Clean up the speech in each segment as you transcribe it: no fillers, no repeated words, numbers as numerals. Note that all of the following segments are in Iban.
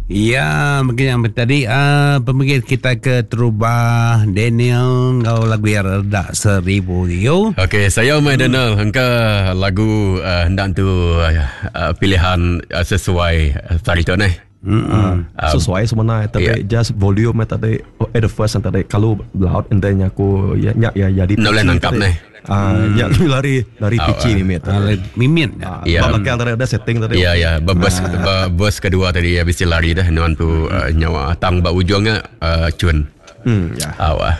Ya, mungkin yang tadi uh, pemikir kita ke terubah Daniel ngau lagu yang redak seribu yo. Okey, saya mai hmm. Daniel engka lagu uh, hendak tu uh, pilihan uh, sesuai hari tu ni. Mm-hmm. Uh, sesuai sebenarnya tapi yeah. just volume tadi at the first tadi kalau loud and then aku ya ya ya jadi no boleh nangkap ni. Ah, ya lari lari oh, pici mimit. Uh, mimit. Uh, ya. Belakang tadi ada setting tadi. Ya ya, bebas uh. bus kedua tadi ya mesti lari dah nuan tu uh, nyawa tang ba ujungnya uh, cun. Hmm ya. Awah.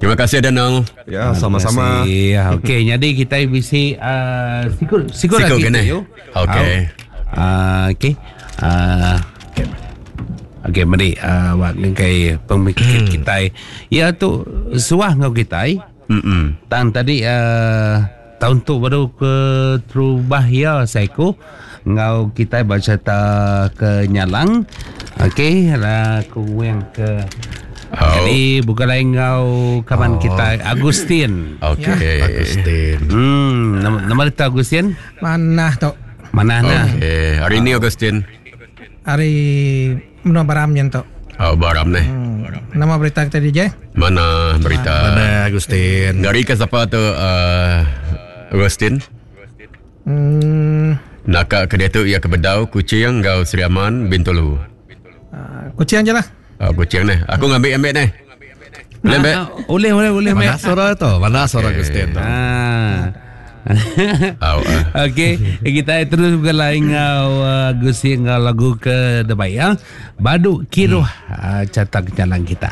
Terima kasih Daniel. Ya, sama-sama. Ya, okey. Jadi kita bisi uh, sikut sikut lagi kena. Okey. Uh, okey. Uh, okey, mari uh, wak ngkai pemikir hmm. kita. Ya tu suah ngau kita. Hmm. Tang tadi uh, tahun tu baru ke terubah ya saiku ngau kita baca ta ke nyalang. Okey, lah ku yang ke Oh. Jadi bukan lain ngau kawan oh. kita Agustin. Okey. Ya. Agustin. Hmm, nama, nama dia Agustin? Mana tu? Mana nah. Okey, hari ni Agustin. Hari menua Baram yang tu. Oh, Baram ni. Nama berita kita DJ? Mana berita? Mana Agustin? Ngari ke siapa tu uh, Agustin? Hmm. Nak ke dia tu ia ke Bedau, Kuching, Gau Sri Aman, Bintulu. Kuching je lah. Oh, kucing ni. Aku ngambil ambil ni. Boleh ambil? Boleh, boleh, boleh. Mana suara tu? Mana suara okay. Agustin tu? Ah. Okey, kita terus berlai ngau Agustin ngau lagu ke debai ya. Baduk kiruh hmm. Catak jalan kita.